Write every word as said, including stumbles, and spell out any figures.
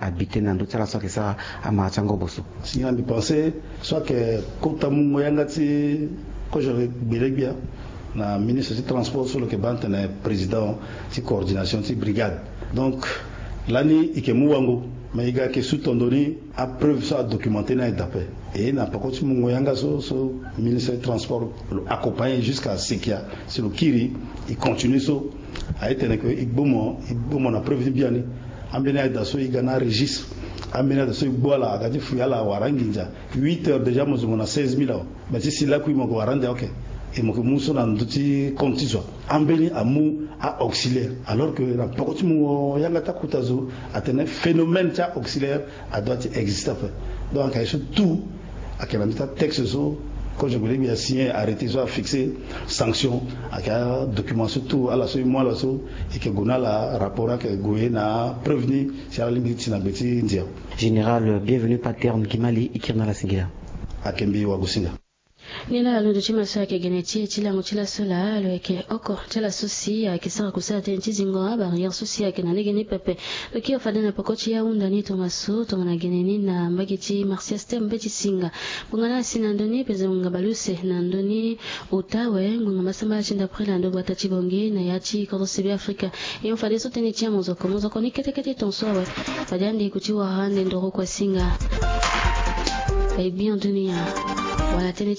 abi tënë na ndö ti ala so ayeke sara amara ti angobo so. Si na mbi pense so ayeke kota mungo yanga ti kozo gbele gbia na ministre ti transport so lo yeke baa tene président ti coordination ti brigade. Donc lani e yeke mu wango, mais e ga yeke su tondo ni apreuve so adocumenté ni aye daa ape. E na peko ti mungo yanga so so ministre ti transport lo accompagné jusqu'à Sekia, si lo kiri e continue so. Aye tene ke e gbomo e gbomo na preuve ti biani. Ambeni aye daa so e ga na registre. Ambeni aye daa so e gbu ala aga ti fui ala wara anginza. Huit heures déjà mo zo mo na seize mille awa. Mais ti si lakui mo ke wara ande aoke. E mo ke mu so na ndö ti compte ti zo. Ambeni amu a-auxiliaire, alors que na peko ti mungo yanga ti akota zo atene phénomène ti a-auxiliaire adoit ti existe ape. Donc ayeke so tout ayeke na mbi ti atexte so kozo gbele gbia asigné, arrêté so afixé sanction. Ayeke adocument so tout ala so e mu ala so e yeke gue na ala rapport ni ayeke gue na apreuve ni si ala lingbi ti na gbe ti ndia. Général Bienvenu Paterne Kimali, e kiri na ala singila. Ayeke mbi wagosinga. Ni laa alondo ti ma so ayeke gene ti e ti lango ti laso laa lo yeke oko ti ala so si ayeke sara kusala tënë ti zingo abarrière so si ayeke na lege ni pepe. Lo kiri fade na peko ti ahunda ni tongaso tongana gene ni na mbage ti Marsias Tembe ti singa. Ngbonga ni asi na ndö ni pezo ngbonga baleuse na ndö ni ota awe ngbonga masambala ti ndapre na ndö gbata ti Bangui na ya ti kodro sebe Afrika. E hon fadeso tënë ti amozoko mozoko ni kete kete tongaso awe. Fade ande e kuti wara ande ndoro kua singa. E gbia dunia wala tënë